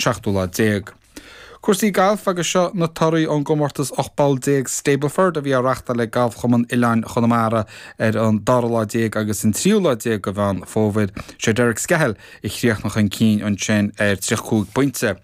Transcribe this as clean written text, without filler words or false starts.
seachtú lá déag. Cúrsaí gailf agus seo na torthaí ón gcomórtas 18 bpoll Stableford a bhí á reachtáil ag Galfchumann Oileáin Chonamara ar an dara lá déag agus an tríú lá déag de Mheán Fómhair. Sé Derek Skehill a chríochnaigh chun cinn ansin ar 35 pointe.